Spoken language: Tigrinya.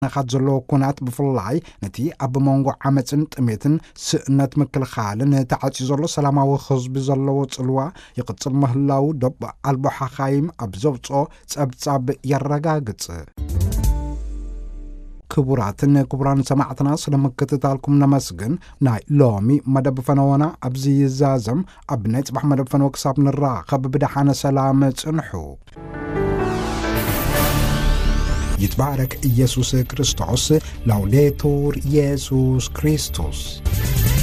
ናኻት ዘለዎ ኩናት ብፍላይ ነቲ ኣብ መንጎ ዓመፅን ጥሜትን ስእነት ምክልኻልን ተዓፅዩ ዘሎ ሰላማዊ ህዝቢ ዘለዎ ፅልዋ ይቕፅል ምህላው ዶብ ኣልቦ ሓኻይም ኣብ ዘውፅኦ ጸብጻብ የረጋግጽ። ክቡራትን ክቡራን ሰማዕትና ስለ ምክትታልኩም ነመስግን። ናይ ሎሚ መደብ ፈነወና ኣብዚ ይዛዘም። ኣብ ናይ ጽባሕ መደብ ፈነወ ክሳብ ንራኸብ ብደሓነ ሰላም ጽንሑ። ይትባረክ ኢየሱስ ክርስቶስ። ላውዴቱር ኢየሱስ ክርስቶስ።